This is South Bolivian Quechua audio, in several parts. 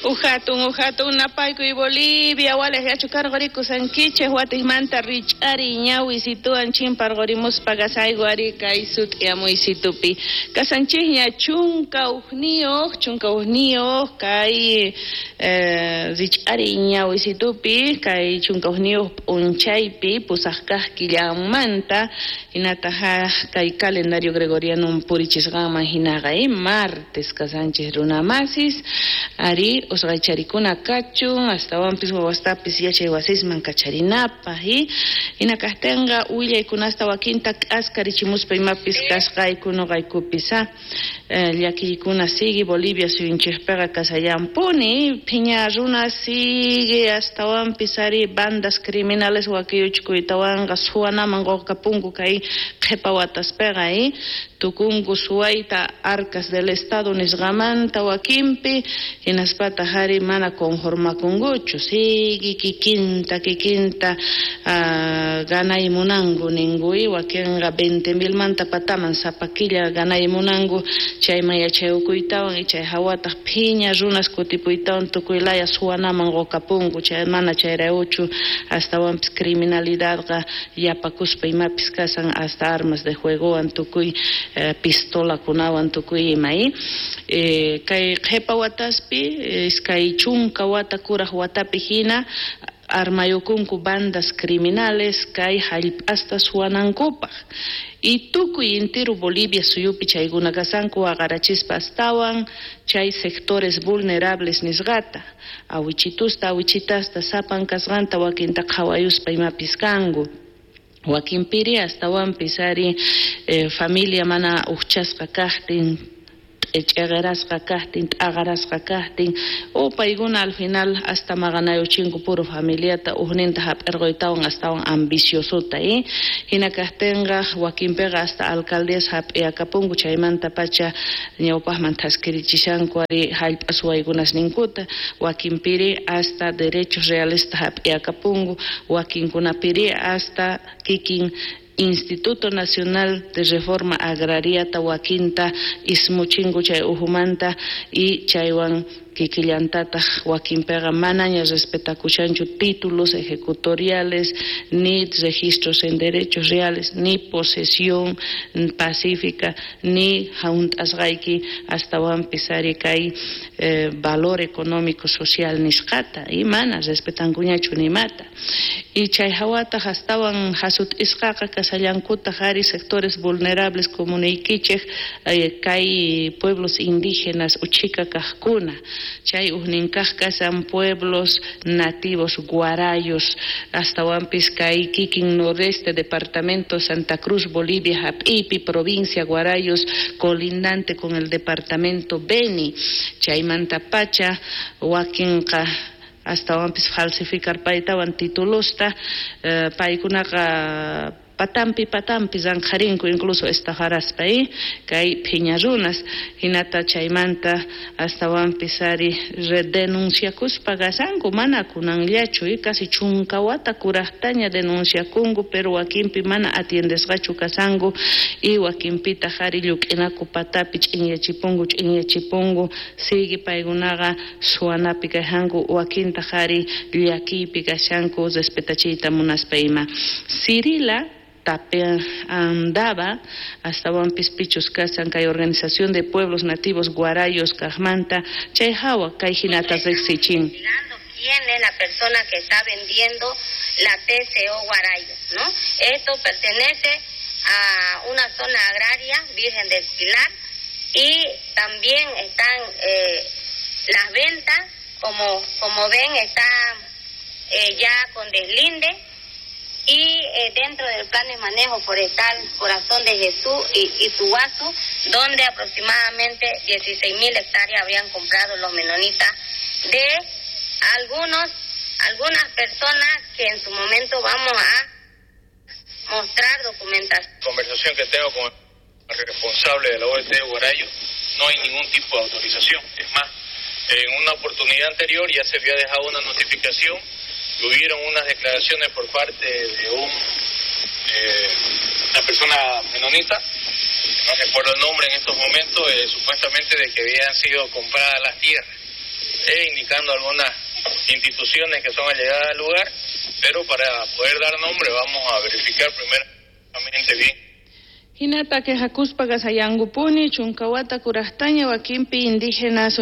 Ujatun, ujatun, napaykuy Bolivia, walej yachukarqurikusankichej watijmanta rich'ari ñawisituwan chimparqurimuspa kasayku ari kay sut'iyamuysitupi. Kasanchikña 11 kay rich'ari ñawisitupi, kay 11 p'unchaypi pusaq kaq killamanta, hinataqa kay calendario gregoriano purichisqanman hinaqa, martes kasanchik runamasis, ari usqaycharikuna kachun, astawanpis wawastapis yachay wasisman kacharinapaq, hina kaqtinqa willaykunasta wakinta k'askarichimuspa imapis kasqayku nuqaykupis, llakiykuna sigue Bolivia suyunchikpiqa kasallampuni, phiña runa sigue astawanpis ari bandas criminales wakiyuchkuytawanqa suwanaman quqapunku kay qhipa wataspiqa, tukunku suwayta arcas del Estado nisqamanta wakinpi, hinaspataq ari mana conformakunkuchu, sigue kikinta ganay munanku ninku, wakinqa 20,000 manta pataman sapa killa ganay munanku, chayman yachayukuytawan chay hawataq phiña runas kutipuytawan tukuy laya suwanaman qukapunku, chay mana chayrayuchu astawanpis criminalidadqa yapakuspa imapis kasan hasta armas de juegowan tukuy pistolakunawan tukuy ima, kay qhipa wataspi 20 wata kuraj watapi hina armayukunku bandas criminales kay hallp'asta suwanankupaq. Y tukuy intiru Bolivia suyupi chaykuna kasanku waqarachispa astawan chay sectores vulnerables nisqata, awichitusta awichitasta sapan kasqanta wakinta qhawayuspa imapis kanku. Wakinpiri astawanpis ari familia mana ujchasqa kaqtin, ch'eqerasqa kaqtin, t'aqarasqa kaqtin, o paykuna al final hasta maqanayuchinku puro familiata ujninta hap'irquytawan astawan ambiciosota, hina kaqtinqa wakinpiqa hasta alcaldías hap'iyakapunku chaymanta pacha ñawpaqman thaskirichishanku ari hallp'a suwaykunasninkuta, wakinpiri hasta derechos realesta hap'iyakapunku, wakinkunapiri hasta kikin Instituto Nacional de Reforma Agraria wakinta ismuchinku chay uhumanta y chaywan kikillantataq wakinpiqa manaña respetakushanchu títulos ejecutoriales, ni registros en derechos reales, ni posesión pacífica, ni hunt'asqayki astawanpis ari kay valor económico social nisqata, y mana respetankuñachu nimata. Y chay hawataq astawan hasut'isqaqa kasallankutaq ari sectores vulnerables como niykichej kay pueblos indígenas uchika kaqkuna, chay ujninkaq kasan pueblos nativos guarayos, astawanpis kay kikin noreste departamento Santa Cruz, Bolivia, hap'ipi, provincia Guarayos, colindante con el departamento Beni, chaymanta pacha wakinqa astawanpis falsificar paytawan titulosta, paykunaqa patampi patampi zanjarinku incluso estafaraspa, kay phiña runas, hinata chaymanta astawanpis ari denunciakuspa kasanku, mana kunanllachu, casi 10 wata kurajtaña denunciakunku, pero wakinpi mana atiendesqachu kasanku, y wakinpitaq ari lluk'inaku patapi ch'inyachipunku, sigue paykunaqa suwanapi kashanku, wakintaq ari llakiypi kashanku respetachiyta munaspa ima. Cirila andaba astawanpis pichus kasan kay organización de pueblos nativos guarayos kajmanta chay hawa kay hinata riqsichin. ¿Quién es la persona que está vendiendo la TCO Guarayos, no? Esto pertenece a una zona agraria Virgen del Pilar y también están las ventas, como ven, están ya con deslinde. Y dentro del plan de manejo forestal Corazón de Jesús y Ituguazú, donde aproximadamente 16,000 hectáreas habrían comprado los menonitas de algunas personas que en su momento vamos a mostrar documentación. Conversación que tengo con el responsable de la OET de Guarayo, no hay ningún tipo de autorización. Es más, en una oportunidad anterior ya se había dejado una notificación. Hubieron unas declaraciones por parte de una persona menonita, no recuerdo el nombre en estos momentos, supuestamente de que habían sido compradas las tierras. e indicando algunas instituciones que son allegadas al lugar, pero para poder dar nombre vamos a verificar primeramente bien. Hinata quejakuspa kasayankupuni chunkawata kurajtaña wakinpi indígenas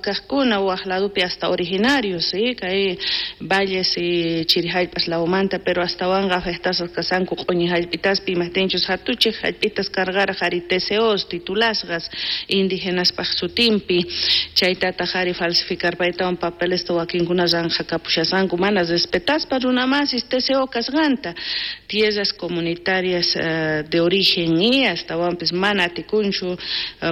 kajkuna waj ladopi hasta originarios, ¿sí? Kay valles y chiri jallp'as lawmanta, pero astawanqa afectasqas kasanku q'uñi jallp'itaspi imajtinchus jatuchej jallp'itas cargaraj ari TCOs titulasqas indígenaspaj sutinpi, chaytataq ari falsificarpaytawan papelesta wakinkuna ranqhakapushasqanku mana respetaspa runamasis TCO kasqanta, tierras comunitarias de origen y astawanpis mana atikunchu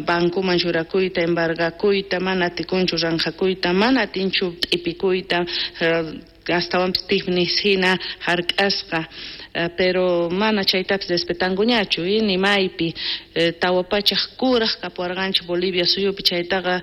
bancoman churakuyta, embargakuyta, mana atikunchu ranqhakuyta, mana atinchu t'ipikuyta, astawanpis tifnis hina hark'asqa, pero mana chaytapis respetankuñachu, y ni maypi tawa pachaj kuraj kapuwarqanchik Bolivia suyupi chaytaqa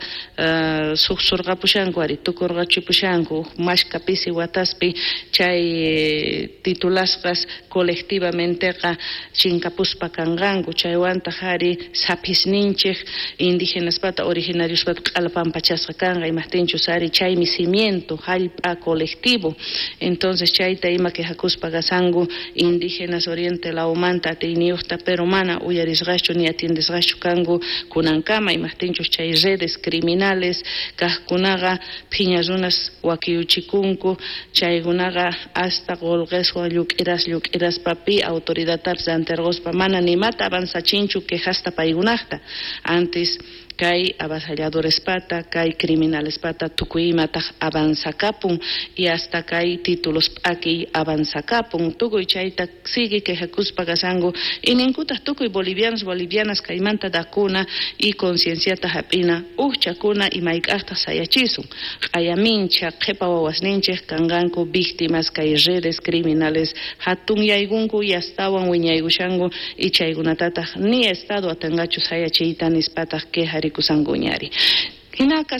suqsurqapushanku ari tukurqachipushanku mashka pisi wataspi chay titulasqas colectivamenteqa chinkapuspa kanqanku, chaywantaq ari saphisninchik indígenaspata originariospata q'alpampachasqa kanqa, imajtinchus ari chaymi cimiento jallp'a colectivo, entonces chayta ima quejakuspa kasanku indígenas oriente lawmanta atiyniyuqta, pero mana uyarisqachu ni atiendesqachu kanku kunankama, imajtinchus chay redes criminales kajkunaqa phiña runas wakiyuchikunku, chaykunaqa hasta qolqeswan lluk'iras lluk'iraspa pi autoridadtapis anterqospa mana nimata avanzachinchu quejasta paykunaqta, antes kay avasalladorespata, kay criminalespata tukuy imataq avanzakapun y hasta kay títulos p'akiy avanzakapun, tukuy chayta sigue quejakuspa kasanku y ninkutaq tukuy bolivianos, bolivianas kaymanta dakuna y concienciata hap'ina ujchakuna y mayk'aqtaq sayachisun, q'ayamincha qhipa wawasninchik kanqanku víctimas kay redes criminales hatunyaykunku y astawan wiñaykushanku y chaykunatataq ni estado atinqachu sayachiyta nispataq quejari kusankuñari. Hinaka.